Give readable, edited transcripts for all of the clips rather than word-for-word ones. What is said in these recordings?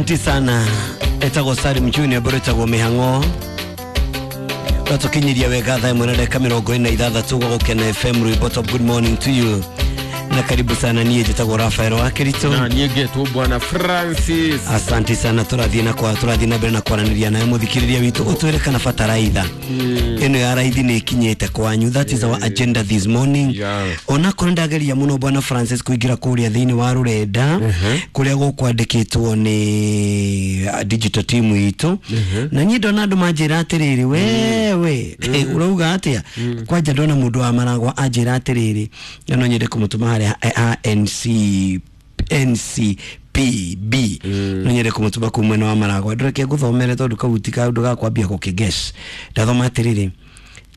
Asante sana. Etagwo Salim Junior bũrĩtagwo mĩhang'o ratukinyiria wega thaa ĩmwe na ndagĩka 46 gwa Gũkena FM rwĩmbo top. Good morning to you na karibu sana. Niĩ njĩtagwo Rafael wa Kĩritũ na niĩ ngetwo Bwana Francis. Asante sana. Tũrathiĩ na kwa tũrathiĩ na mbere na kwaranĩria nawe mũthikĩrĩria witũ ũtwĩre kana bataraitha ĩno ya raithi nĩ ĩkinyĩte kwanyu. That is our agenda this morning. Onakorwo ndageria mũno Bwana Francis kũingĩra kũrĩa thĩinĩ wa rũrenda kũrĩa gũkwandĩkĩtwo nĩ digital team itũ, na niĩ ndona andũ manjĩra atĩrĩrĩ, wewe ũrauga atĩa? Kwanja ndona mũndũ wa Maragwa anjĩra atĩrĩrĩ, na no nyende kũmũtũma harĩa ANC NCPB, no nyende kũmũtũma kũu mwena wa Maragwa. Ndũreke ngũthomere tondũ kau ti kaũndũ ga kwambia gũkĩguess. Ndathoma atĩrĩrĩ,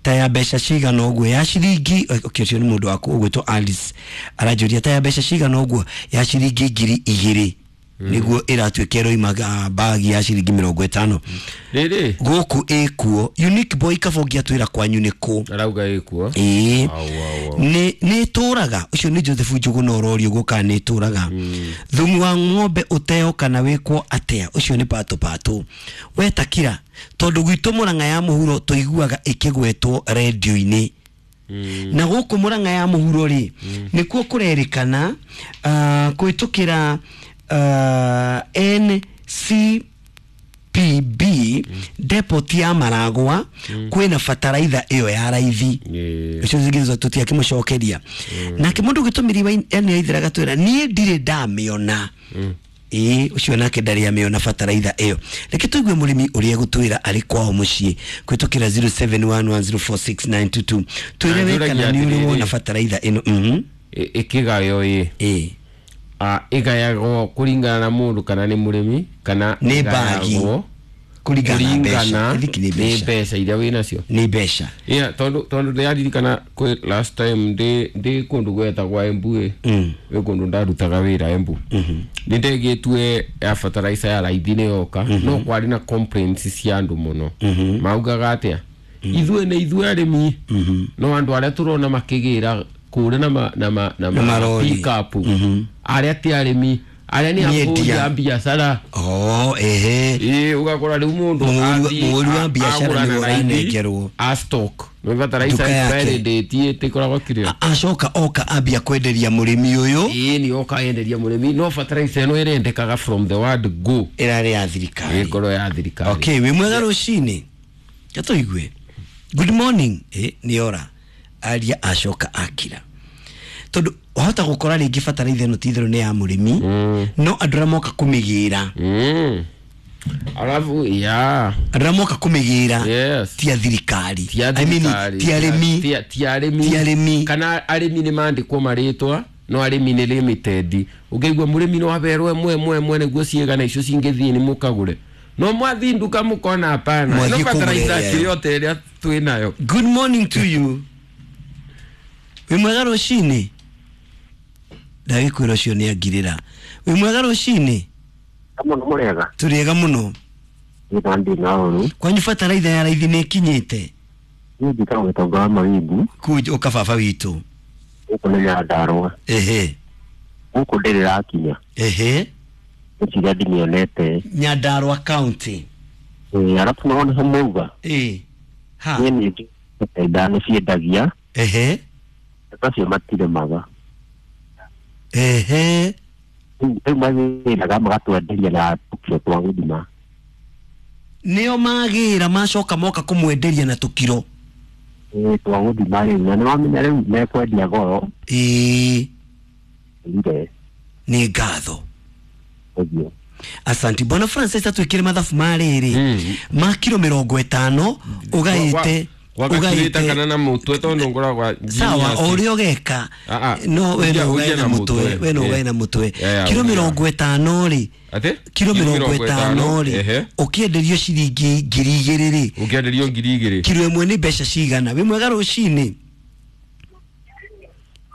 ta ya mbeca cigana ũguo ya ciringi, okay, ũcio nĩ mũndũ waku ũgwĩtwo Alice aranjũria, ta ya mbeca cigana ũguo ya ciringi 2000 nĩguo ĩratuĩka ĩroima bagi ya ciringi 50 rĩrĩ gũkũ ĩkuo. Unique Boy Kabongi atwĩra kwanyu nĩ kũ? Arauga ĩkuo. Ĩĩ, nĩ ĩtũraga. Ũcio nĩ Joseph Njũgũna ũrorio ũguo kana nĩ ĩtũraga. Thumu wa ng'ombe ũteo kana wĩkwo atĩa? Ũcio nĩ patũ patũ wetakira, tondũ gwitũ Mũrang'a ya mũhuro tũiguaga ĩkĩgwetwo rendio-inĩ, na gũkũ Mũrang'a ya mũhuro rĩ nĩkuo kũrerĩkana kũhĩtũkĩra NCPB depot ya Maragwa kwĩna bataraitha ĩyo ya raithi. Ũcio zingine tũtiakĩmũcokeria. Nake mũndũ ũgĩtũmĩri wa ene aithĩraga twĩra niĩ ndirĩ ndamĩona. Ĩĩ, ũcio nake ndarĩ amĩona bataraitha ĩyo. Reke tũigue mũrĩmi ũrĩa egũtwĩra arĩ kwao mũciĩ kũhĩtũkĩra 0711046922. Twĩre we kana nĩ ũrĩ wona bataraitha ĩno. Ĩkĩgayo ĩ ĩĩ ĩgayagwo kũringana na mũndũ kana nĩ mũrĩmi kana nĩ bagi kũringana na mbeca. Nĩ mbeca iria wĩ nacio, nĩ mbeca. Yeah, tondũ ndĩraririkana kwĩ last time ndĩ kũndũ gwetagwo Embu ĩ gwĩ kũndũ ndarutaga wĩra Embu, nĩ ndegĩtue ya fertilizer ya raithi nĩ yoka, no kwarĩ na complaints cia andũ mũno. Maugaga atĩa, ithuĩ nĩ ithuĩ arĩmi, no andũ arĩa tũrona makĩgĩra kũrĩa na pick up arĩa ti arĩmi, arĩa nĩ ahũri a biacara. Oh, ehe. Ĩĩ, ũgakora rĩu mũndũ mũhũri wa biacara nĩwe ũranengerwo a stock nĩ fertilizer expiry date ĩtĩkoragwo kĩrĩa, acoka oka ambia kwenderia mũrĩmi ũyũ. Ĩĩ, nĩ oka enderia mũrĩmi, no fertilizer ĩno ĩrendekaga from the word go ĩrarĩ ya thirikari, ĩkorwo ya thirikari. Okay, wĩ mwega rũcinĩ, gatũigue. Good morning. Nĩ ora aria acoka akira, tondũ wahota gũkora rĩngĩ bataraitha ĩno ti itherũ nĩ ya mũrĩmi, no andũ arĩa moka kũmĩgĩra alafu ya andũ arĩa moka kũmĩgĩra ti a thirikari, I mean, ti arĩmi, ti arĩmi, kana arĩmi nĩ mandĩkwo marĩtwa, no arĩmi nĩ limited. Ũngĩigua mũrĩmi no aberwo ĩmwe ĩmwe ĩmwe nĩguo ciĩgana icio cingĩthiĩ nĩ mũkagũre, no mwathiĩ nduka mũkona hapana, no bataraitha kĩrĩa ote ĩrĩa twĩ nayo. Good morning to you. Wĩ mwega rũcinĩ? Ndagĩkwĩra ũcio nĩ angirĩra. Wĩ mwega rũcinĩ? Mũno mũrega. Tũrĩega mũno. Kwanyu bataraitha ya raithi nĩ ĩkinyĩte? Niĩ njĩtagwo Gĩtonga wa Mawingu. Kuu ũka baba witũ. Gũkũ nĩ Nyandarũa. Ehe. Gũkũ ndĩrĩ ĩrakinya. Ehe. Ngwĩciria ndimĩonete. Nyandarũa County. Ĩĩ, arabu naho nĩho mauga. Ĩĩ. Ha. Niĩ nĩ njũĩ nĩ ciendagia. Ehe. Acio matirĩmaga. Ehe. Rĩu magĩraga magatwenderia na tũkiro twa gũthima. Nĩo magĩra macoka moka kũmwenderia na tũkiro. Ĩĩ, twa gũthima rĩu, na nĩwamenya rĩu mekwendia goro. Ĩĩ. Ire. Nĩ ngatho. Asante Bwana Francis, atwĩkĩre mathabu ma rĩrĩ ma kiro 50 ũgaĩte wagaturĩte kana na mũtwe tondũ ngoragwa sawa o ũrĩa ũgeka, no we no ũgae na mũtwe, we no ũgae na mũtwe. Kiro 50 rĩ, kiro 50 rĩ, ũkĩenderio ciringi 2000 rĩ, ũkĩenderio 2000, kiro ĩmwe nĩ mbeca cigana? Wĩ mwega rũcinĩ?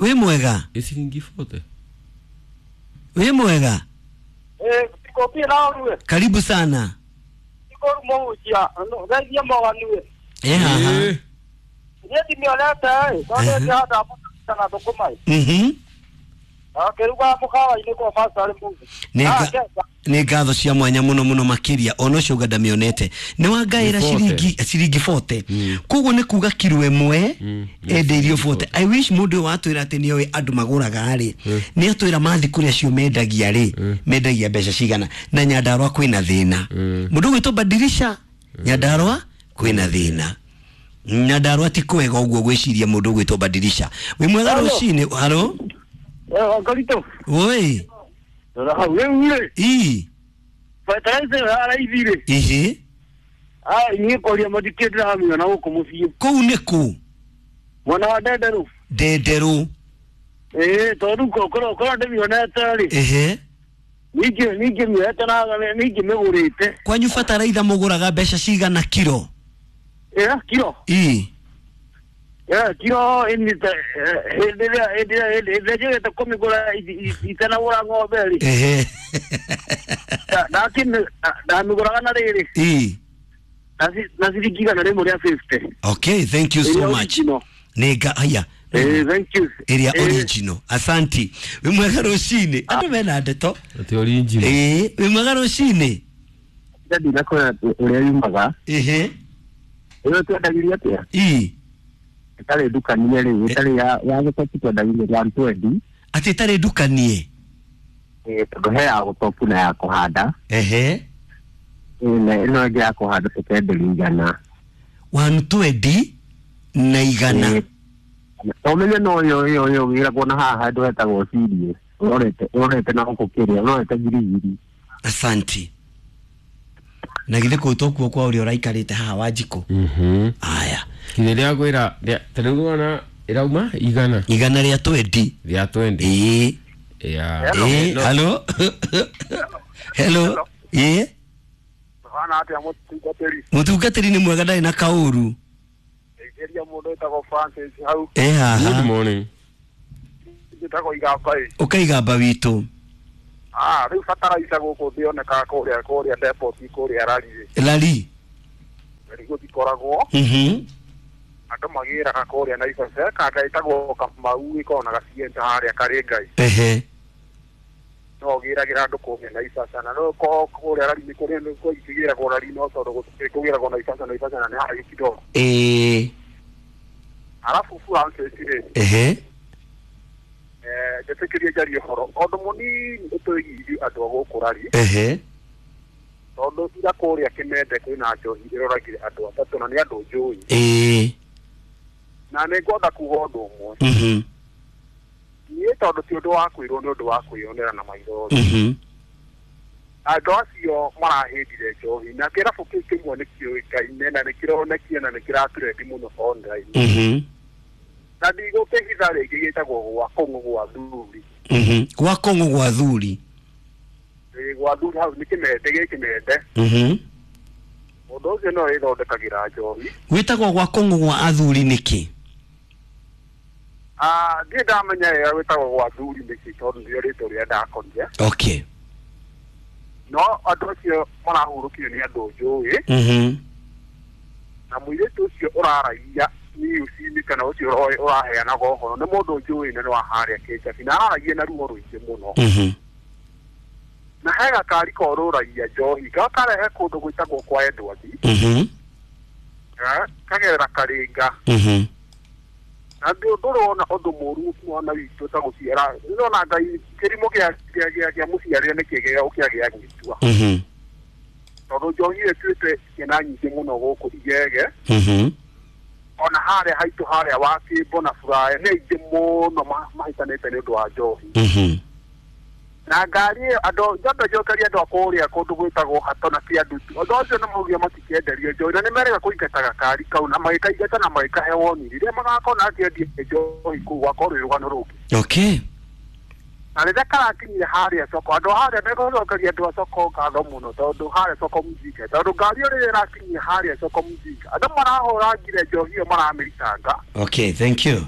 Wĩ mwega? Ĩ ciringi 40. Wĩ mwega? Karibu sana. Akĩruga mũkawa-inĩ kwa Pastor Mungu. Nĩ ngatho cia mwanya mũno mũno makĩria ona ũcio uga ndamĩonete nĩ wangaĩra ciringi 40. Koguo nĩ kuga kiro ĩmwe endeirio 40. I wish mũndũ ũyũ watwĩra atĩ nĩoĩ andũ magũraga rĩ, nĩ atwĩra mathi kũrĩa acio mendagia rĩ, mendagia mbeca cigana. Na Nyandarua kwĩna thĩna. Mũndũ ũgwĩtwo Badirisha, Nyandarua kwĩna thĩna. Nyandarua ti kwega ũguo gwĩciria mũndũ ũgwĩtwo Badirisha. Wĩ mwega rũcinĩ. Halo. Ngarito. Oi. Rora hau rĩu rĩ. Ii. Fertilizer ya raithi rĩ. Ihi. Ah, niĩ kũria mathikĩ ndĩramĩona gũkũ mũciĩ. Kũu nĩ kũ? Mwena wa Ndenderũ. Ndenderũ. Ĩĩ, tondũ korwo ndĩmĩonete rĩ. Ehe. Ningĩ mĩoete na ningĩ mĩgũrĩte. Kwanyu bataraitha mũgũraga mbeca cigana kiro? Ĩĩ, kiro. Ii. Kiro hĩndĩ ĩrĩa njũgĩte kũmĩgũra itanagũra ng'ombe rĩ. Ehe. Ndamĩgũraga na rĩrĩ. Ii. Na ciringi 150 rĩa 50. Okay, thank you so much. Nĩnga haya. Thank you. Ĩrĩa original. Asanti. Wĩ mwega rũcinĩ. Andũ mena ndeto. Ati original. Ĩĩ, wĩ mwega rũcinĩ. Ndinakwĩra ũrĩa yumaga. Ehe. Ĩyo twendagĩria atĩa? Ii. Ĩtarĩ ndukanie rĩ, ĩtarĩ ya gũtopu twendagĩria 120. Atĩ ĩtarĩ ndukanie? Ĩĩ, tondũ he ya gũtopu na ya kũhanda. Ehe. Ĩno ĩngĩ ya kũhanda tũkenderia 100. 120 na 100. Ũmenye no ĩyo ĩyo wĩragwo na haha handũ hetagwo Cirie. Ũrorete na gũkũ kĩrĩa, ũrorete Girigiri. Asanti. Na githĩ kũu tokuo kwa ũrĩa ũraikarĩte haha Wanjikũ? Aya. Kire rĩa kwĩra ta rĩu nĩwona ĩrauma 100. 100 rĩa 20. Rĩa 20. Ĩĩ. Yeah. Ĩĩ, hello. Hello. Ĩĩ. Hana atĩa mũtungatĩri? Mũtungatĩri nĩ mwega ndarĩ na kaũru. Ngeria mũndũ wĩtagwo Francis hau. Ĩ haha. Good morning. Njĩtagwo Igamba ĩ. Ũkaigamba witũ. Ah, rĩu bataraitha gũkũ ndĩonekaga kũrĩa depot kũrĩa Rari. Rari. Rari gũtikoragwo. Andũ magĩraga kũrĩa Naivasha kanda ĩtagwo Kamau ĩkoragwo na gacienta harĩa karĩ Ngai. Ehe. No ũgĩragĩra andũ kũrĩa Naivasha na no kũrĩa Rari nĩ kũrĩa kũgĩragwo Rari no tondũ kũgĩragwo Naivasha Naivasha na nĩ harĩa kidogo. Ĩĩ. Arabu Francis rĩ. Ehe. Njĩtĩkĩrie njarie ũhoro ũndũ mũnini ũtũĩgirie andũ a gũkũ Rari. Ehe. Tondũ ira kũrĩa Kĩmende kwĩna njohi ĩroragire andũ atatũ na nĩ andũ njũĩ. Ĩĩ. Na nĩ ngwenda kuga ũndũ ũmwe. Niĩ tondũ ti ũndũ wa kwĩrwo nĩ ũndũ wa kwĩyonera na maitho. Andũ acio marahĩndire njohi na kĩrabu kĩu kĩmwe nĩ kĩũĩkaine na nĩ kĩronekia na nĩ kĩratrendi mũno online. Na ndigũkĩhitha rĩngĩ gĩtagwo gwa Kũng'ũ gwa Thuri. Gwa Kũng'ũ gwa Thuri. Ĩĩ, gwa Thuri hau nĩ Kĩmende, gĩ Kĩmende. Mũndũ ũcio no ĩthondekagĩra njohi. Gwĩtagwo gwa Kũng'ũ gwa athuri nĩkĩ? Ah, ndiĩ ndamenya wega gwĩtagwo gwa Thuri nĩkĩ tondũ nĩrĩo rĩtwa rĩrĩa ndakorire. Okay. No andũ acio marahurũkire nĩ andũ njũĩ. Na mũirĩtu ũcio ũraragia news-inĩ kana ũcio ũraheanaga ũhoro nĩ mũndũ njũĩ na nĩ wa harĩa Kĩnjabi na araragia na ruo rũingĩ mũno. Na he gakari korũragia njohi gakarehe kũndũ gwĩtagwo kwa Edward. Kagerera Karinga. Na ndũrona ũndũ mũru mwana witũ ta gũciara ndĩrona Ngai kĩrimũ kĩa mũciarĩre nĩ kĩgĩa ũkĩagĩa gwĩtua. Tondũ njohi ĩtuĩte ciana nyingĩ mũno gũkũ Igege. Ona harĩa haitũ harĩa wa Kĩmbo na Buraya nĩ aingĩ mũno mahĩtanĩte nĩ ũndũ wa njohi. Na ngari ĩyo andũ njokeria andũ a kũrĩa kũndũ gwĩtagwo Hato na Kĩandutu andũ acio nĩ maugire matikĩenderio njohi na nĩ merega kũingata gakari kau na magĩkaingata na magĩkahe woni rĩrĩa magakona akĩendia njohi kũu gwakorwo rwĩ rũgano rũngĩ. Okay. Na rĩrĩa karakinyire harĩa soko andũ harĩa nĩgũcokeria andũ a soko ngatho mũno tondũ harĩa soko Mjinga tondũ ngari ĩyo rĩrĩa ĩrakinyire harĩa soko Mjinga andũ marahũrangire njohi ĩyo maramĩritanga. Okay, thank you.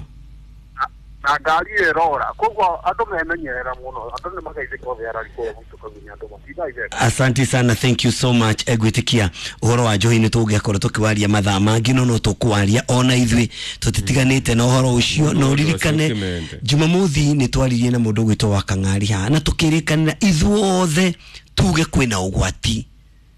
Na ngari ĩrora koguo andũ memenyerera mũno andũ nĩ mageithĩka othe arari kũrĩa gwitũ Kagunya andũ matindaire. Asante sana, thank you so much. Egwĩtĩkia ũhoro wa njohi nĩ tũngĩakorwo tũkĩwaria mathaa mangĩ no no tũkwaria ona ithuĩ tũtitiganĩte na ũhoro ũcio na ũririkane Ũcio Jumamothi nĩ twaririe na mũndũ ũgwĩtwo wa Kang'ari haha na tũkĩrĩkanĩra ithuothe tuge kwĩna ũgwati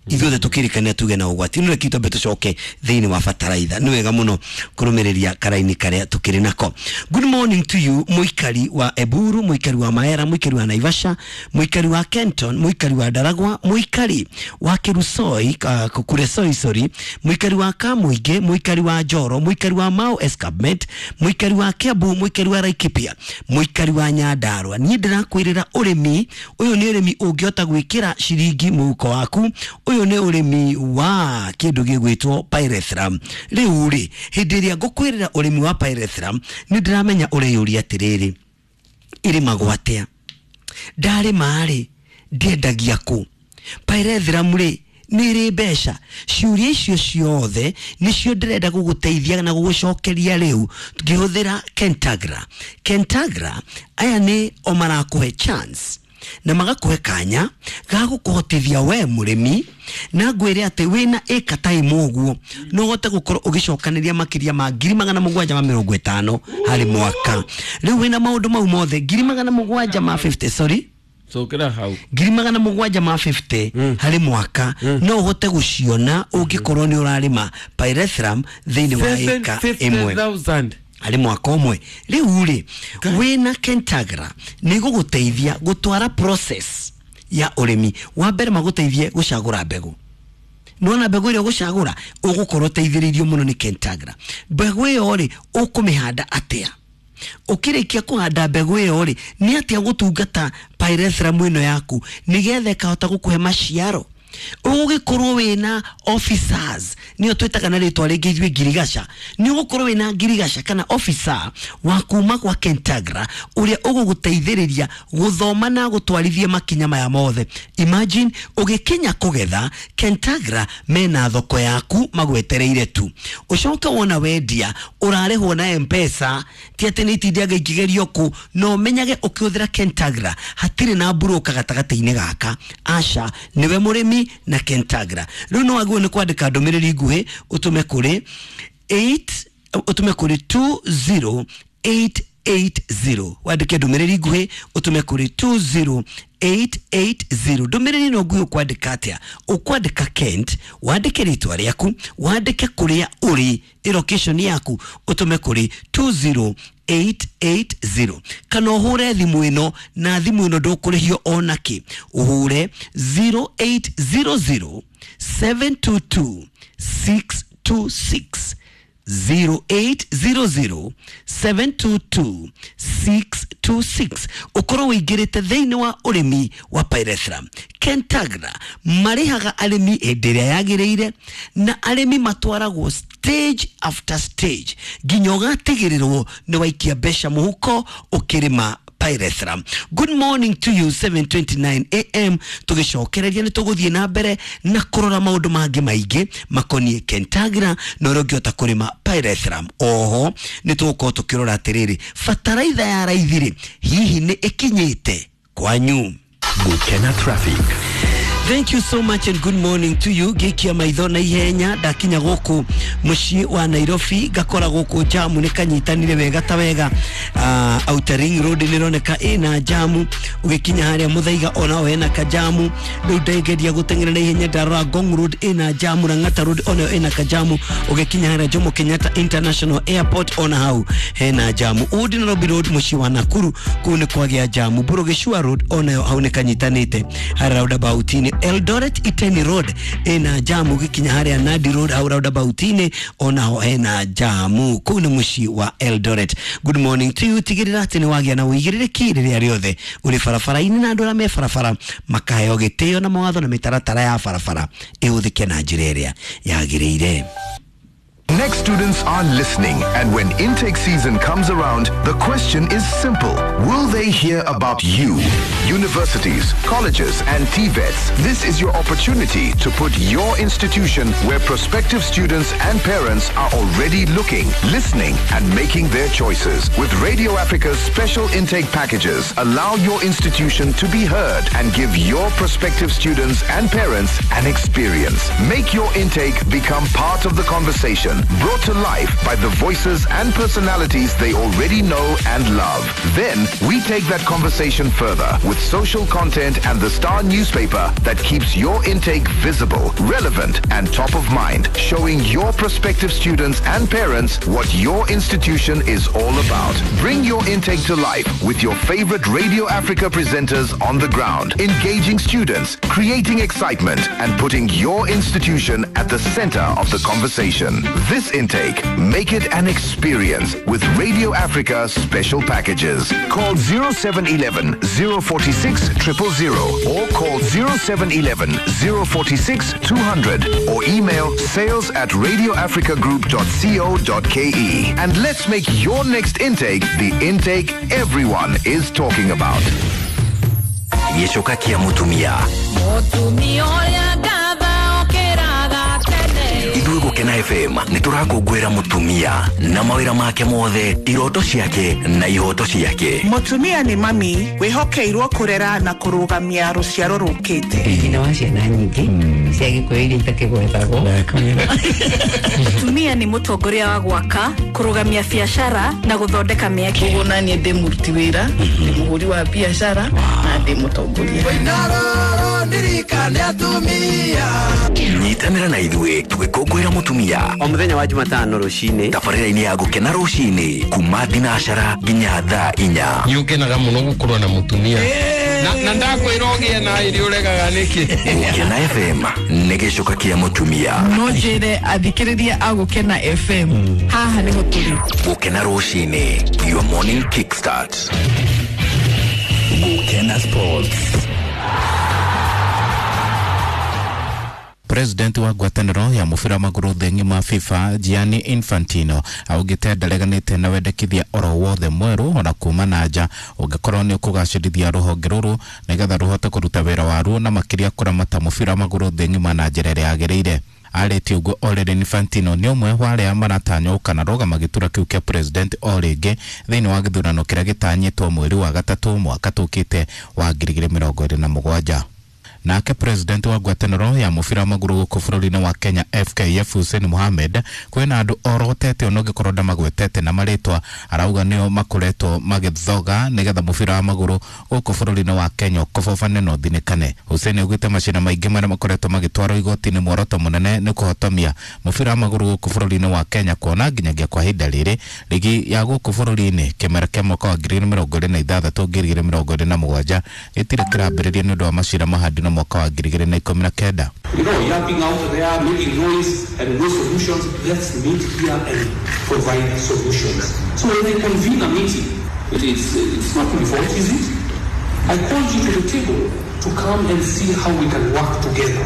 ithuothe tukirikanira tuge na ũgwati no reke twambe tucoke thĩinĩ wa bataraitha nĩ wega mũno kũrũmĩrĩria karaini karĩa tukĩrĩ nako. Good morning to you mũikari wa Eburu, mũikari wa Maera, mũikari wa Naivasha, mũikari wa Kenton, mũikari wa Daragwa, mũikari wa Kerusoi, Kuresoi sorry, mũikari wa Kamuingi, mũikari wa Njoro, mũikari wa Mau Escarpment, mũikari wa Kiambu, mũikari wa Laikipia, mũikari wa Nyandarua. Niĩ ndĩrakwĩrĩra ũrĩmi ũyũ nĩ ũrĩmi ũngĩhota gwĩkĩra ciringi mũhuko waku. Ũyũ nĩ ũrĩmi wa kĩndũ gĩgwĩtwo pyrethrum. Rĩu rĩ, hĩndĩ ĩrĩa ngũkwĩrĩra ũrĩmi wa pyrethrum nĩ ndĩramenya ũreyũria atĩrĩrĩ, ĩrĩmagwo atĩa? Ndarĩma rĩ, ndiendagia kũ? Pyrethrum rĩ, nĩ ĩrĩ mbeca? Ciũria icio ciothe nĩcio ndĩrenda gũgũteithia na gũgũcokeria rĩu ngĩhũthĩra Kentagra. Kentagra aya nĩ o marakũhe chance na magakũhe kanya ga gũkũhotithia we mũrĩmi na ngwĩre atĩ wĩna ĩka ta ĩmwe ũguo no ũhote gũkorwo ũgĩcokanĩria makĩria ma 750,000 harĩ mwaka. Rĩu wĩna maũndũ mau mothe 750 sorry cokera hau 750 harĩ mwaka no ũhote gũciona ũngĩkorwo nĩ ũrarĩma pyrethrum thĩinĩ wa ĩka ĩmwe 750,000 harĩ mwaka ũmwe. Rĩu rĩ, wĩna Kentagra nĩ gũgũteithia gũtwara process ya ũrĩmi. Wa mbere magũteithie gũcagũra mbegũ. Nĩwona mbegũ ĩrĩa ũgũcagũra ũgũkorwo ũteithĩrĩirio mũno nĩ Kentagra. Mbegũ ĩyo rĩ, ũkũmĩhanda atĩa? Ũkĩrĩkia kũhanda mbegũ ĩyo rĩ, nĩ atĩa gũtungata pyrethrum ĩno yaku nĩgetha ĩkahota gũkũhe maciaro? Ũgũgĩkorwo wĩna officers, nĩyo twĩtaga na rĩtwa rĩngĩ ithuĩ ngirigaca. Nĩ ũgũkorwo wĩna ngirigaca kana officer wa kuma kwa Kentagra ũrĩa ũgũgũteithĩrĩria gũthoma na gũtwarithia makinya maya mothe. Imagine ũgĩkinya kũgetha, Kentagra mena thoko yaku magwetereire tu. Ũcoke wona wendia ũrarĩhwo na M-Pesa, ti atĩ nĩ itindiaga ikĩgerio kũ, no ũmenyage ũkĩhũthĩra Kentagra hatirĩ na mburũka gatagatĩ-inĩ gaka. Aca, nĩwe mũrĩmi na Kentagra. Rĩu no wagĩrĩirwo nĩ kwandĩka ndũmĩrĩri nguhĩ ũtũme kũrĩ 8 ũtũme kũrĩ 20880. Wandĩke ndũmĩrĩri nguhĩ ũtũme kũrĩ 20880. Ndũmĩrĩri ĩno nguhĩ ũkwandĩka atĩa? Ũkwandĩka Kent, wandĩke rĩtwa rĩaku, wandĩke kũrĩa ũrĩ, location yaku, ũtũme kũrĩ 20880. Kana ũhũre thimũ ĩno, na thimũ ĩno ndũkũrĩhio ona kĩ. Ũhũre 0800 722 626. 0800 722 626. Ũkorwo ũingĩrĩte thĩinĩ wa ũrĩmi wa pyrethrum. Kentagra marĩhaga arĩmi hĩndĩ ĩrĩa yagĩrĩire na arĩmi matwaragwo stage after stage nginya ũgatigĩrĩrwo nĩ waikia mbeca mũhuko ũkĩrĩma pyrethrum. Good morning to you 7:29 am. Tũgĩcokereria nĩ tũgũthiĩ na mbere na kũrora maũndũ mangĩ maingĩ makoniĩ Kentagra na ũrĩa ũngĩhota kũrĩma pyrethrum. Oho nĩ tũgũkorwo tũkĩrora atĩrĩrĩ, bataraitha ya raithi rĩ, hihi nĩ ĩkinyĩte kwanyu? Gukena traffic. Thank you so much and good morning to you. Ngĩikia maitho na ihenya ndakinya gũkũ mũciĩ wa Nairobi ngakora gũkũ jamu nĩ kanyitanire wega ta wega. Outer Ring Road nĩ ĩroneka ĩna jamu, ũgĩkinya harĩa Muthaiga onao hena kajamu. Rĩu ndengeria gũteng'era na ihenya ndarora Ngong Road ĩna jamu, Lang'ata Road onayo ĩna kajamu, ũgĩkinya harĩa Jomo Kenyatta International Airport ona hau hena jamu. Old Nairobi Road mũciĩ wa Nakuru kũu nĩ kwagĩa jamu. Burugicua Road onayo hau nĩ kanyitanĩte harĩa roundabout-inĩ. Eldoret Iteni Road ĩna jamu, ũgĩkinya harĩa Nandi Road hau roundabout-inĩ onaho hena jamu. Kũu nĩ mũciĩ wa Eldoret. Good morning to you. Tigĩrĩra atĩ nĩ wagĩa na ũigĩrĩrĩki rĩrĩa rĩothe ũrĩ barabara-inĩ, na andũ arĩa me barabara makaheo gĩtĩo na mawatho na mĩtaratara ya barabara ĩhũthĩke na njĩra ĩrĩa yagĩrĩire. Next students are listening, and when intake season comes around, the question is simple. Will they hear about you? Universities, colleges, and TVETs, this is your opportunity to put your institution where prospective students and parents are already looking, listening, and making their choices. With Radio Africa's special intake packages, allow your institution to be heard and give your prospective students and parents an experience. Make your intake become part of the conversation, brought to life by the voices and personalities they already know and love. Then we take that conversation further with social content and the Star newspaper that keeps your intake visible, relevant, and top of mind, showing your prospective students and parents what your institution is all about. Bring your intake to life with your favorite Radio Africa presenters on the ground, engaging students, creating excitement, and putting your institution at the center of the conversation. This intake, make it an experience with Radio Africa special packages. Call 0711 046 000 or call 0711 046 200 or email sales at radioafricagroup.co.ke. And let's make your next intake the intake everyone is talking about. Gĩcoka kĩa mũtumia. Mũtumia ũrĩa ngatha ũkĩraga tene. Ithuĩ Gũkena FM nĩ tũrakũngũĩra mũtumia na mawĩra make mothe, iroto ciake na ihoto ciake. Mũtumia nĩ mami wĩhokeirwo kũrera na kũrũgamia rũciaro rũkĩte. Nyina wa ciana nyingĩ cia Gĩkũyũ iria itakĩgwetagwo. Mũtumia nĩ mũtongoria wa gwaka, kũrũgamia biacara na gũthondeka mĩeke. Koguo naniĩ ndĩ mũruti wĩra, ndĩ mũhũri wa biacara na ndĩ mũtongoria. Nyitanĩra na ithuĩ tũgĩkũngũĩra mũtumia o mũthenya wa Jumatano rũcinĩ tabarĩra-inĩ ya Gũkena rũcinĩ kuma thinacara nginya thaa 4. Nĩ ũkenaga mũno gũkorwo na mũtumia na ndakwĩra ũgĩe na ĩrĩ ũregaga nĩkĩ. Gũkena FM nĩ gĩcoka kĩa mũtumia. No njĩre athikĩrĩria a Gũkena FM haha nĩho tũrĩ. Gũkena rũcinĩ, your morning kickstart. Gũkena Sports. President wa ngwatanĩro ya mũbira wa magũrũ thĩ ng'ima FIFA Gianni Infantino augĩte ndareganĩte na wendekithia oro wothe mwerũ ona kuma na nja ũngĩkorwo nĩ ũkũgacĩrithia rũhonge rũrũ nĩgetha rũhote kũruta wĩra waruo na makĩria kũramata mũbira wa magũrũ thĩ ng'ima na njĩra ĩrĩa yagĩrĩire. Arĩtie ũguo o rĩrĩ Infantino nĩ ũmwe wa arĩa maratanywo gũkanarũgama gĩturwa kĩu kĩa president o rĩngĩ thĩinĩ wa gĩthurano kĩrĩa gĩtanyĩtwo mweri wa 3 mwaka tũkĩte wa 2027. Nake president wa ngwatanĩro ya mũbira wa magũrũ gũkũ bũrũri-inĩ wa Kenya FKF Hussein Mohamed kwĩna andũ orotete ona ũngĩkorwo ndamagwetete na marĩtwa arauga nĩo makoretwo magĩthoga nĩgetha mũbira wa magũrũ gũkũ bũrũri-inĩ wa Kenya ũkobobane na ũthinĩkane. Hussein augĩte macina maingĩ marĩa makoretwo magĩtwarwo igoti-inĩ muoroto mũnene nĩ kũhotomia mũbira wa magũrũ gũkũ bũrũri-inĩ wa Kenya kuona nginyagia kwa ihinda rĩrĩ rigi ya gũkũ bũrũri-inĩ kĩmera kĩa mwaka wa 2026 2027 gĩtirĩ kĩrambĩrĩria nĩ ũndũ wa macira mahandi na mwaka wa 2019. You know, yapping out there, making noise and no solutions. Let's meet here and provide solutions. So when I convene a meeting, it's not my fault, is it? I called you to the table to come and see how we can work together.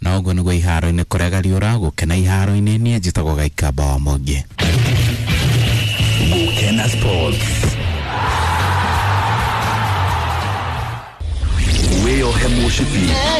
Na ũguo nĩguo iharo-inĩ kũrega riũra Gũkena iharo-inĩ niĩ njĩtagwo Gaikamba wa Mũngĩ. Gũkena Sports. Wĩyohe mũcibi.